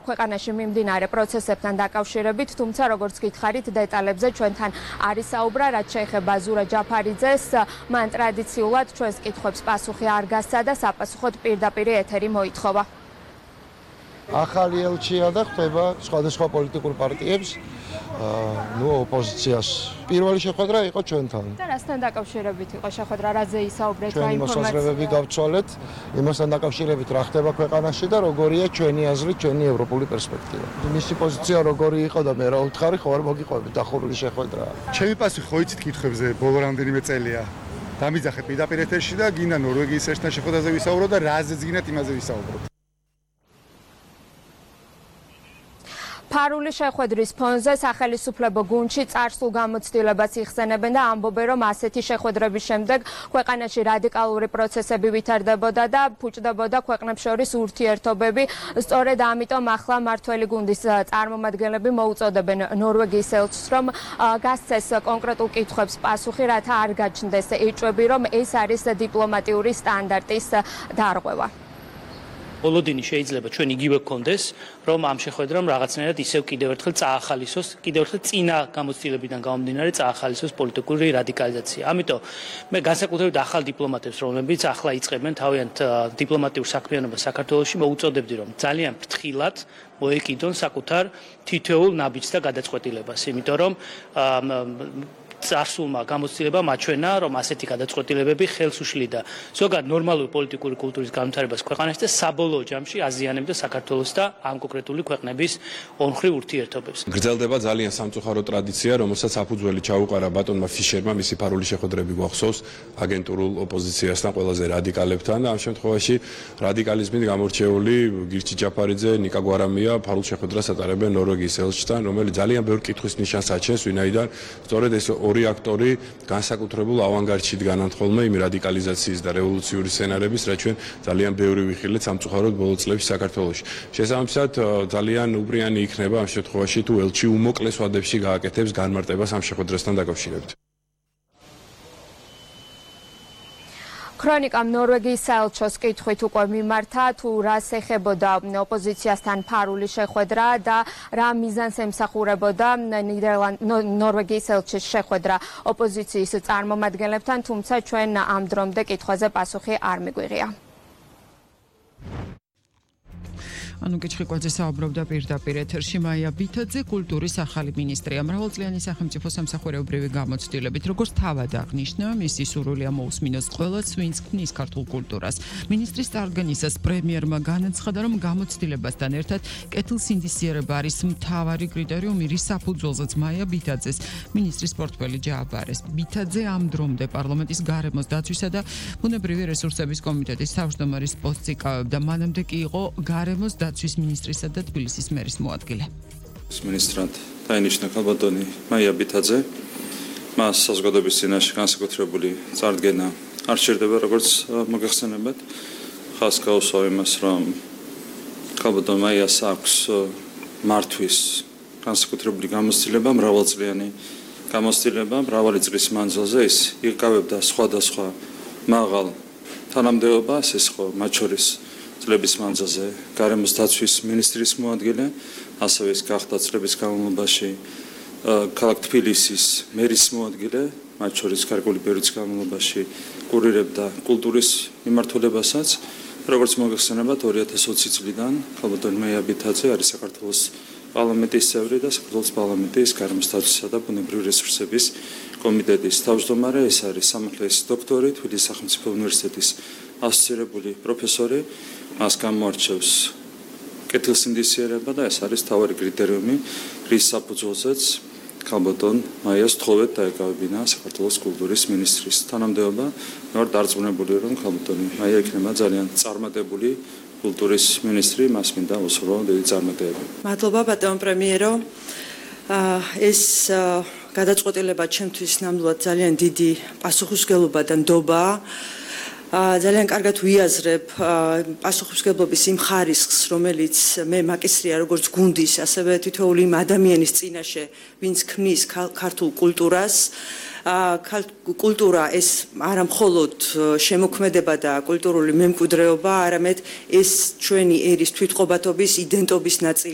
ქვეყანაში მიმდინარე პროცესებთან დაკავშირებით, თუმცა როგორც გითხარით, დეტალებზე ჩვენთან არის საუბრა, რაც შეეხება ზურა ჯაფარიძეს, მან ტრადიციულად ჩვენს კითხვებს პასუხი არ გასცა და საპასუხოდ პირდაპირ ეთერი მოითხოვა. ახალი ელჩია და ხდება სხვადასხვა პოლიტიკურ პარტიებს, ოპოზიციას. პირველი შეხვედრა იყო ჩვენთან. და რასთან დაკავშირებით იყო შეხვედრა, რაზე ისაუბრეთ, რა ჩვენი მოსაზრებები გავცვალეთ, იმასთან დაკავშირებით რა ხდება ქვეყანაში და როგორია ჩვენი აზრი, ჩვენი ევროპული პერსპექტივა. მისი პოზიცია როგორი იყო და მე რა ვუთხარი, ხო არ მოგიყვებით, დახურული შეხვედრაა. ჩემი პასუხი ხო იცით კითხვებზე ბოლო რამდენიმე წელია. დამიძახეთ პირდაპირ ეთერში და გინდა ნორვეგიის ერთთან შეხვედრაზე ვისაუბროთ და რაზეც გინდათ იმაზე ვისაუბროთ. ფარული შეხვედრის ფონზე სახელმწიფო გუნდში წარსულ გამოცდილებას იხსენებენ და ამბობენ, რომ ასეთი შეხვედრების შემდეგ ქვეყანაში რადიკალური პროცესები ვითარდებოდა და ფუჭდებოდა ქვეყნებს შორის ურთიერთობები. სწორედ ამიტომ ახლა მართველი გუნდის წარმომადგენლები მოუწოდებენ ნორვეგიის ელჩს, რომ გასცეს კონკრეტულ კითხვებს პასუხი, რათა არ გაჩნდეს ეჭვები, რომ ეს არის დიპლომატიური სტანდარტის დარღვევა. Ოლოდინი შეიძლება ჩვენ იგივე გქონდეს, რომ ამ შეხვედრამ რაღაცნაირად ისევ კიდევ ერთხელ წაახალისოს, კიდევ ერთხელ წინა გამოცდილებიდან გამომდინარე წაახალისოს პოლიტიკური რადიკალიზაცია. ამიტომ მე განსაკუთრებით ახალ დიპლომატებს, რომლებიც ახლა იწყებენ თავიანთ დიპლომატიურ საქმიანობას საქართველოში, მოუწოდებდი, რომ ძალიან ფრთხილად მოეკიდონ საკუთარ თითოეულ ნაბიჯს და გადაწყვეტილებას, იმიტომ რომ წარსულმა გამოცდილებამ აჩვენა, რომ ასეთი გადაწყვეტილებები ხელს უშლიდა ზოგადად ნორმალური პოლიტიკური კულტურის განვითარებას ქვეყანაში და საბოლოო ჯამში აზიანებდა საქართველოს და ამ კონკრეტული ქვეყნების ორმხრივ ურთიერთობებს. გრძელდება ძალიან სამწუხარო ტრადიცია, რომელსაც საფუძველი ჩაუყარა ბატონმა ფიშერმა, მისი ფარული შეხვედრები გვახსოვს აგენტურულ ოპოზიციასთან, ყველაზე რადიკალებთან და ამ შემთხვევაში რადიკალიზმით გამორჩეული გირჩი ჯაფარიძე, ნიკა გვარამია ფარულ შეხვედრას ატარებენ ნორვეგიის ელჩთან, რომელიც ძალიან ბევრ კითხვის ნიშანს აჩენს, ვინაიდან სწორედ ეს ორი აქტორი განსაკუთრებულ ავანგარდში დგანან ხოლმე იმ რადიკალიზაციის და რევოლუციური სცენარების, რაც ჩვენ ძალიან ბევრი ვიხილეთ სამწუხაროდ ბოლო წლებში საქართველოში. შესაბამისად, ძალიან უპრიანი იქნება ამ შემთხვევაში თუ ელჩი უმოკლეს ვადებში გააკეთებს განმარტებას ამ შეხვედრასთან დაკავშირებით. ქრონიკამ ნორვეგიის საელჩოს კითხვით უკვე მიმართა, თუ რას ეხებოდა ოპოზიციასთან ფარული შეხვედრა და რა მიზანს ემსახურებოდა ნორვეგიის ელჩის შეხვედრა ოპოზიციის წარმომადგენლებთან, თუმცა ჩვენ ამ დრომდე კითხვაზე პასუხი არ მიგვიღია. ანუ კიჩხიკვაძე საუბრობდა პირდაპირ ეთერში. მაია ბითაძე კულტურის ახალი მინისტრია. მრავალწლიანი სახელმწიფო სამსახურეობრივი გამოცდილებით, როგორც თავად აღნიშნა, მისი სურვილია მოусმინოს ყველას, ვინც ქმნის ქართულ კულტურას. მინისტრის წარდგენისას პრემიერმა განაცხადა, რომ გამოცდილებასთან ერთად კეთილსინდისიერება არის მთავარი კრიტერიუმი, რის საფუძველზეც მაია ბითაძეს მინისტრის პორტფელი ჯააბარეს. ბითაძე ამ დრომდე პარლამენტის გარემოს დაცვისა და ბუნებრივი რესურსების კომიტეტის თავმჯდომარის პოსტს იკავებდა. მანამდე კი იყო გარემოს დაცვის მინისტრისა და თბილისის მერის მოადგილე. მინისტრად დაინიშნა ქალბატონი მაია ბითაძე. მას საზოგადოების წინაშე განსაკუთრებული წარდგენა არ სჭირდება, როგორც მოგეხსენებათ. ხაზს გაუსვა იმას, რომ ქალბატონ მაიას აქვს მართვის განსაკუთრებული გამოცდილება, მრავალწლიანი გამოცდილება, მრავალი წლის მანძილზე ის იკავებდა სხვადასხვა მაღალ თანამდებობას, ეს ხო მათ შორის წლების მანძილზე გარემოს დაცვის მინისტრის მოადგილე, ასევე ის გახდა წლების განმავლობაში ქალაქ თბილისის მერის მოადგილე, მათ შორის გარკვეული პერიოდის განმავლობაში კურირებდა კულტურის მიმართულებასაც. როგორც მოგეხსენებათ, 2020 წლიდან ქალბატონი მაია ბითაძე არის საქართველოს პარლამენტის წევრი და საქართველოს პარლამენტის გარემოს დაცვისა და ბუნებრივი რესურსების კომიტეტის თავმჯდომარე. ეს არის სამართლის დოქტორი, თბილისის სახელმწიფო უნივერსიტეტის ასოცირებული პროფესორი. მას გამოარჩევს კეთილსინდისიერება და ეს არის თავარი კრიტერიუმი, რის საფუძველზეც ქალბატონ მაიას თხოვეთ დაეკავებინა საქართველოს კულტურის მინისტრის თანამდებობა. მე ვარ დარწმუნებული, რომ ქალბატონი მაია იქნება ძალიან წარმატებული კულტურის მინისტრი, მას მინდა უსურვო დიდი წარმატებები. მადლობა ბატონ პრემიერო. ეს გადაწყვეტილება ჩემთვის ნამდვილად ძალიან დიდი პასუხისმგებლობა და ნდობაა. ძალიან კარგად ვიაზრებ პასუხისმგებლობის იმ ხარისხს, რომელიც მე მაკისრია როგორც გუნდის, ასევე თითოეული იმ ადამიანის წინაშე, ვინც ქმნის ქართულ კულტურას. კულტურა ეს არა მხოლოდ შემოქმედება და კულტურული მემკვიდრეობა, არამედ ეს ჩვენი ერის თვითყოფადობის იდენტობის ნაწილი.